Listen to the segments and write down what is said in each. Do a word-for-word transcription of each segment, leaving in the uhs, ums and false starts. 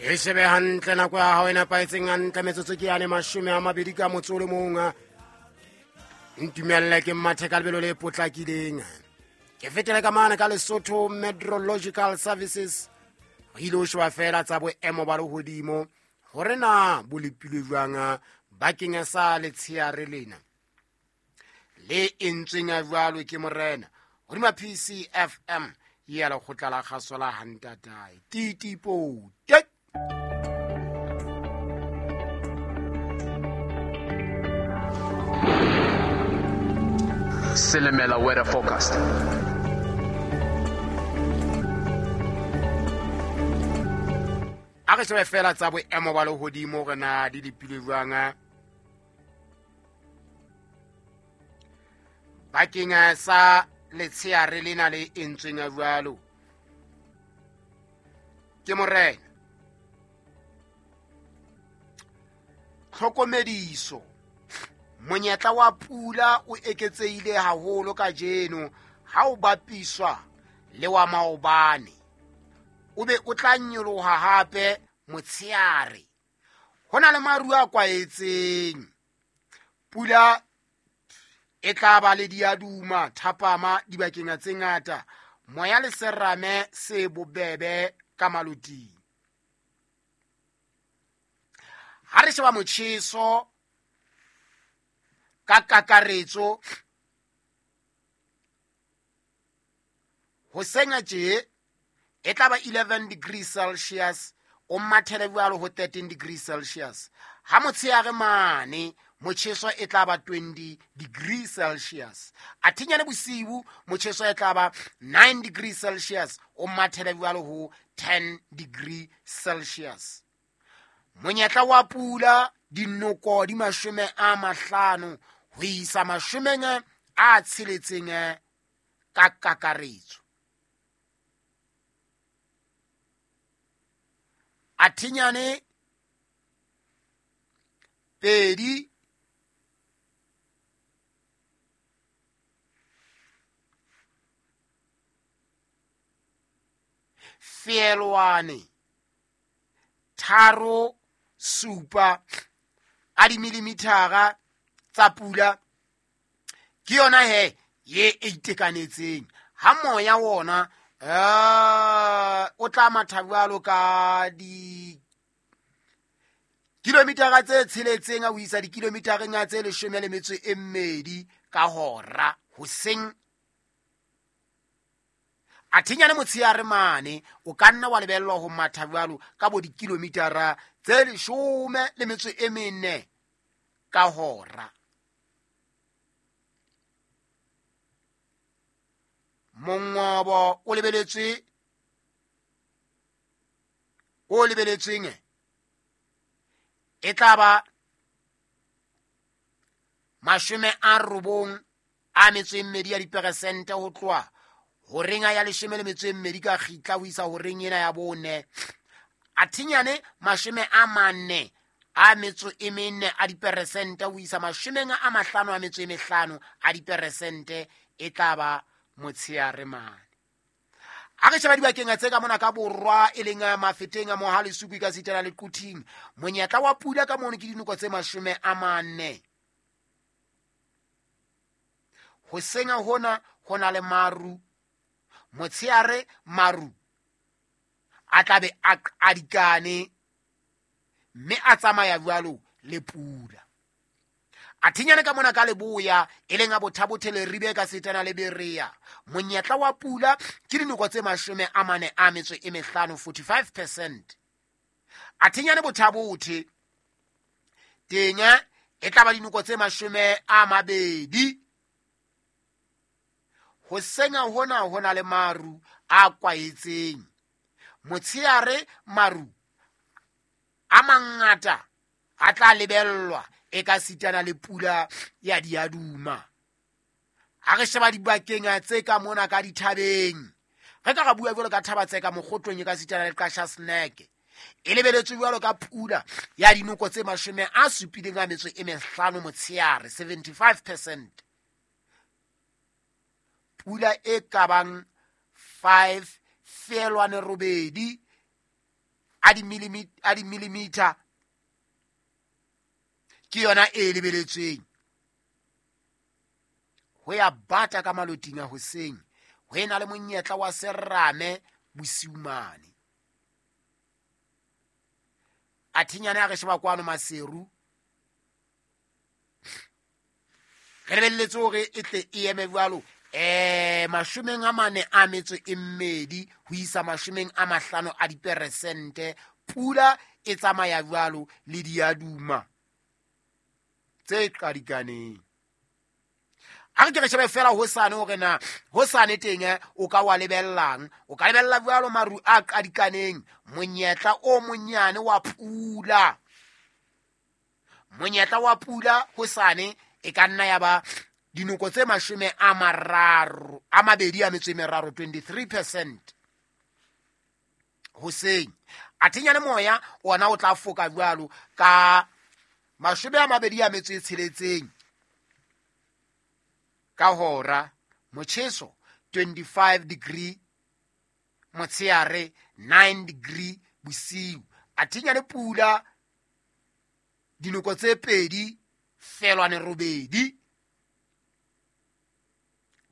E shebe hantle nako ya hao e nepahetseng hantle metsotso ke yane mashome a mabedi ka motso o le mong. Ntumelle ke mathe ka lebelo le potlakileng. Ke fetele ka mane ka Lesotho Meteorological Services. Re ile ho sheba feela tsa boemo ba lehodimo hore na bo lepilwe jwang bakeng sa letsheare lena le entsweng jwalo ke morena hodima P C F M ya lekgotla la kgaso la Hantatae Titipo Tek. Silimela weather forecast. A re shebe fela tsa boemo ba lehodimo hore na di lepilwe jwang bakeng sa letsheare lena le entsweng jwalo ke morena. Tlhokomediso, monyetla wa pula o eketsehile haholo kajeno ha o bapiswa le wa maobane. O be o tla nyoloha hape motsheare. Ho na le maru a kwaetseng. Pula e tla ba le diaduma thapama dibakeng tse ngata. Moya le serame se bobebe ka maloting. Ha re sheba motjheso ka kakaretso hoseng tje e tla ba eleven degrees Celsius o mathele jwalo ho thirteen degrees Celsius. Ha motsheare mane motjheso e tla ba twenty degrees Celsius. Athinyane bosiu motjheso e tla ba nine degrees Celsius o mathele jwalo ho ten degrees Celsius. Monyetla wa pula dinoko di mashome a mahlano ho isa mashomeng a tsheletseng ka kakaretso. Athinyane pedi feelwane tharo supa a dimillimithara tsa pula ke yona he ye e itekanetseng. Ha moya wona eh o tla matha jwalo ka di kilometera tse tsheletseng ho isa dikilometereng tse leshome le metso e mmedi ka hora hoseng. Athinyane motsheare mane o ka nna wa lebellwa ho matha jwalo ka bo dikilometera tse leshome le metso e mene ka hora. Mongobo o lebeletswe o lebeletsweng e tla ba mashome a robong a metso e mmedi ya diperesente ho tloha horeng ya leshome le metso e mmedi ka kgitla ho isa horeng ena ya bone. Athinyane mashome a mane a metso e mene a diperesente ho isa mashomeng a mahlano a metso e mehlano a diperesente e tla ba motsheare mane. Ha re sheba dibakeng tse ka mona ka borwa e leng Mafeteng a Mohale Suku ka sitela le Quthing, monyetla wa pula ka mono ke dinoko tse mashome a mane. Hoseng hona ho na le maru, motsheare maru a tla be a qadikane mme a tsamaya jwalo le pula. Athinyane ka mona ka leboya e leng a Bothabothe le Ribe ka setana le Berea, monyetla wa pula ke dinoko tse mashome a mane a metso e mehlano, forty-five percent. Athinyane Bothabothe teng e tla ba dinoko tse mashome a mabedi. Hoseng hona ho na le maru a kwaetseng. Motsheare maru a mangata a tla lebellwa e ka sitana le pula ya diaduma. Ha re sheba dibakeng tse ka mona ka dithabeng, re ka ra bua jwalo ka thaba tse ka Mokgotlong e ka sitana le Qasha Snack, e lebeletswe jwalo ka pula ya dinoko tse mashome a supileng a metso e mehlano motsheare, seventy-five percent. Pula e ka bang five feelwane robedi a di-millimeter ke yona e lebeletsweng. Ho ya bata ka maloting a hoseng, ho ena le monyetla wa serame bosiu mane. Athinyane a re sheba kwano Maseru, re lebelletse hore e tle e eme jwalo eh mashomeng a mane a metso e mmedi ho isa mashomeng a mahlano a diperesente. Pula e tsamaya jwalo le diaduma tse qadikaneng. A re ke re shebe fela hosane hore na hosane teng o ka wa lebellang. O ka lebella jwalo maru a qadikaneng, monyetla o monyane wa pula. Monyetla wa pula hosane e ka nna ya ba dinoko tse mashome a mararo a mabedi a metso e meraro, twenty-three percent hoseng. Athinyane moya ona o tla foka jwalo ka mashome a mabedi a metso e tsheletseng ka hora, motjheso twenty-five degree motsheare, nine degree bosiu. Athinyane pula dinoko tse pedi felwane robedi.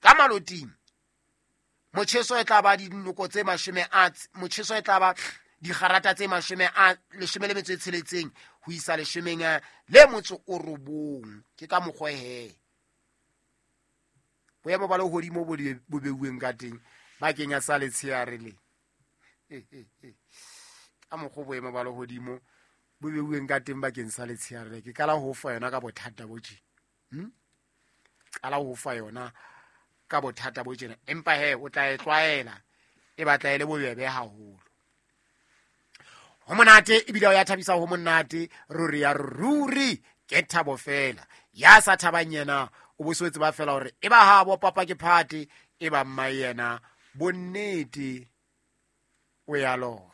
Ka maloting motjheso e tla ba dinoko tse mashome a motjheso e tla ba digarata tse mashome a leshome le metso e tsheletseng ho isa leshomeng le motso o robong. Ke ka mokgwa he boemo ba lehodimo bo bo beuweng ka teng bakeng ya sa letsheare le. Ka mokgwa boemo ba lehodimo bo beuweng ka teng bakeng sa letsheare le, ke qala ho fa yona ka bothata bo tje. Hm? Qala ho fa yona ka bothata bo tjena, empa he o tla e tlwaela, e batla e le bobebe haholo. Ho monate ebile o ya thabisa, ho monate ruri ya ruri, ke thabo fela. Ya sa thabang yena o bo sotse ba fela hore e ba ha bo papa ke phate, e ba mma yena bonnete o ya lora.